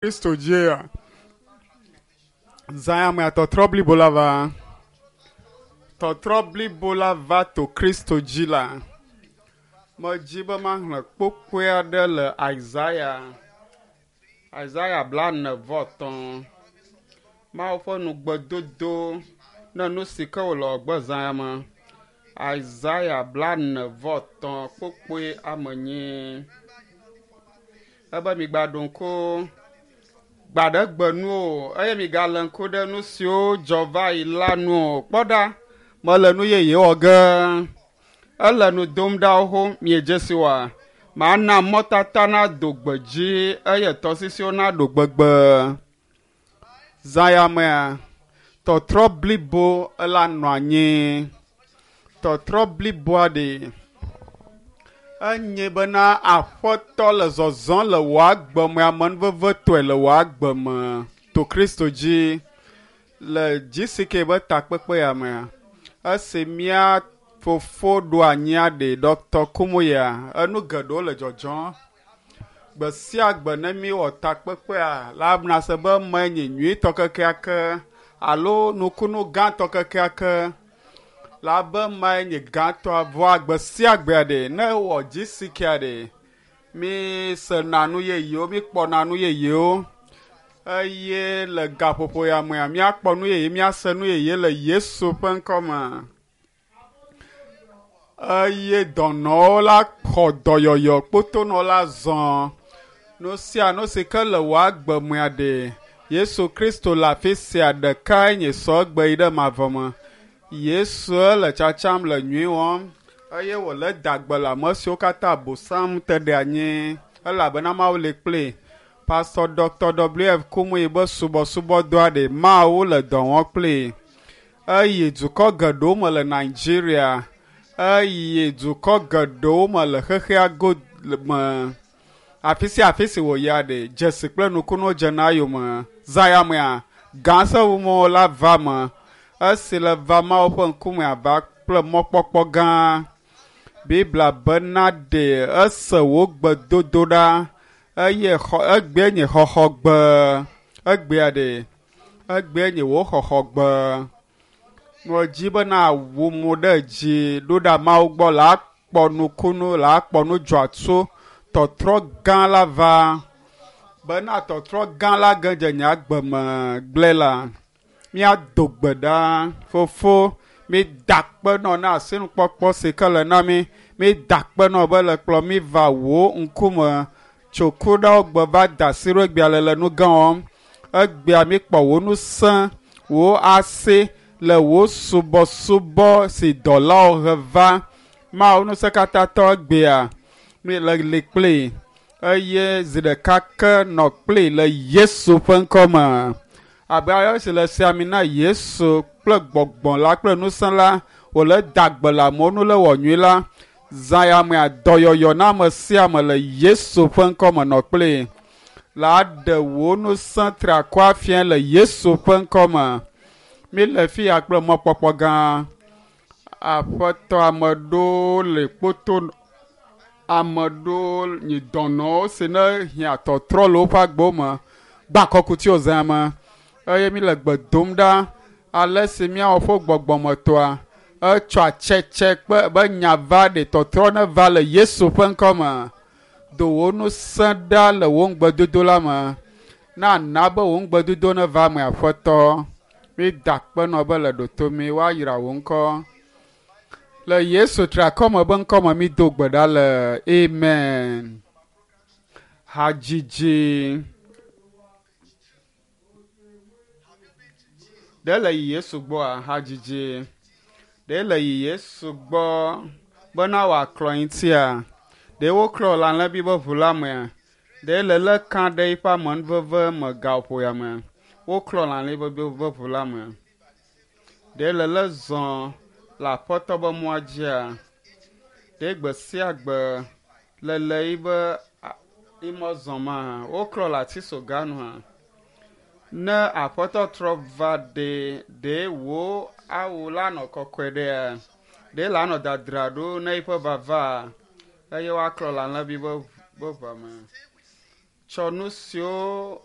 Kristo dzia zã ya mea tɔtrɔ blibo la va. Tɔtrɔ blibo la va to Kristo dzi la. Medzi be maxlẽ kpokpoe aɖe le Isaya, Isaya 43. Mawu ƒe nugbedodo ne nu si ke wòle wɔgbe zã ya me. Isaya 43 kpokpoe ame nyi. Ebe migbaɖo ŋku gbaɖegbe nu o eye migale ŋku ɖe nu siwo dzɔ va yi la nu o. Kpɔ ɖa, mele nu yeye wɔ ge. Ele nu dom ɖa xoxo miedze si oa? Mana mɔtata nado gbe dzi eye tɔsisiwo naɖo gbegbe. Zã ya mea, tɔtrɔ blibo la nɔ anyi. Tɔtrɔ bliboa ɖe enye bena Aƒetɔ le zɔzɔm le wò agbe me amenuvevetɔe le wò agbe me to Kristo dzi le GCK be takpekpe ya mea. Esi mía fofo ɖo anyia ɖe Dr. Kumuya, enu geɖewo le dzɔdzɔm. Gbe sia gbe ne míwɔ takpekpea la nase be eme nye nyuitɔ kekeake alo nukunu gãtɔ kekeake la be mae nye gãtɔa vɔa gbe sia gbea ɖe ne wɔ GCK ɖe mi sena nu yeyewo, mi kpɔna nu yeyewo eye le gaƒoƒo ya mea míakpɔ nu yeye, míase nu yeye le Yesu ƒe ŋkɔ me. Eye dɔnɔwo la xɔ dɔyɔyɔ, kpotonɔ la zɔ. Nu sia nu si ke le wò agbe mea ɖe Yesu Kristo le afi sia ɖekae nye sɔ egbe yi ɖe mavɔ me. Yesu le tsatsam le nyui wɔm eye wòle da gbe le ame siwo katã Abosam te ɖe anyi elabena Mawu li kplii. Pastor Dr. W.F. Kumuyi be subɔsubɔdɔa ɖe Mawu le dɔ wɔm kplii. Eyi dukɔ geɖewo me le Nigeria, eyi dukɔ geɖewo me le xexea go me. Afi sia afi si wòyia ɖe dzesi kple nukunuwo dzena eyome. Zã ya mea, gã seŋumewo la va me. Esi le va Mawu ƒe ŋkume ava kple mɔkpɔkpɔ gã. Biblia bena ɖe ese wò gbedodoɖa eye xɔ egbee nye xɔxɔgbe. Egbea ɖe egbee nye wò xɔxɔgbe. Medzi bena wu mo ɖe dzi ɖo ɖa Mawu gbɔ la akpɔ nukunu la akpɔ nu dzɔatso tɔtrɔ gã la va bena tɔtrɔ gã la ge dze nye agbe me gblẽ la. Míado gbe ɖa fofo mída akpe nɔ na asinukpɔkpɔ si ke le na mí. Mída akpe nɔ be le kplɔ mí va wò ŋkume tso ku ɖewo gbe va da asi ɖo egbea le le nu gã wɔm. Egbea míkpɔ wò ŋusẽ, wò asi le wò subɔsubɔ si dɔlawo he va. Mawu ŋusẽkatãtɔ egbea mi le li kplii eye zi ɖeka ke nɔ kplii le Yesu ƒe ŋkɔ me. Abe ale si le sia mi na Yesu kple gbɔgbɔ la kple ŋusẽ la wòle da gbe le amewo nu le wɔ nyui la, zã ya mea dɔyɔyɔ na ame sia ame le Yesu ƒe ŋkɔ me nɔ kplii. La ɖe wò ŋusẽ triakɔ afia le Yesu ƒe ŋkɔ me. Mi le fi ya kple mɔkpɔkpɔ gã. Aƒetɔ ame ɖewo le kpoto ame ɖewo nyi dɔnɔwo si ne hiã tɔtrɔ le woƒe agbewo me gba kɔkutiwo zã me eye mi le gbe dom ɖa ale si míawɔ ƒe gbɔgbɔmetɔa etsɔ atsetse kpe be nya va ɖe tɔtrɔ ne va le Yesu ƒe ŋkɔ me. Do wò ŋusẽ ɖa le wò ŋugbedodo la me. Na na be wò ŋugbedodo ne va eme Aƒetɔ. Mi da akpe nɔ be le ɖoto mi woayra wò ŋkɔ. Le Yesu triakɔme be ŋkɔ me mi do gbe ɖa le amen. Hadzidzi. Ɖe le yi Yesu gbɔa? Hadzidzi. Ɖe le yi Yesu gbɔ bena wòaklɔ ŋutia? Ɖe woklɔ le alẽvi be ʋu la mea? Ɖe le lé ka ɖe eƒe amenuveve me gaƒo ya mea? Woklɔ le alẽvi be ʋu la mea? Ɖe le lé zɔ le Aƒetɔ be mɔa dzia? Ɖe gbe sia gbe le le yibe imɔ zɔma? Woklɔ le atisoga nua? Ne Aƒetɔ trɔ va ɖe, ɖe wò awu la nɔ kɔkɔe ɖea? Ɖe la nɔ dadra ɖo ne eƒe vava eye woaklɔ le alẽvi be ʋua me? Tsɔ nu siwo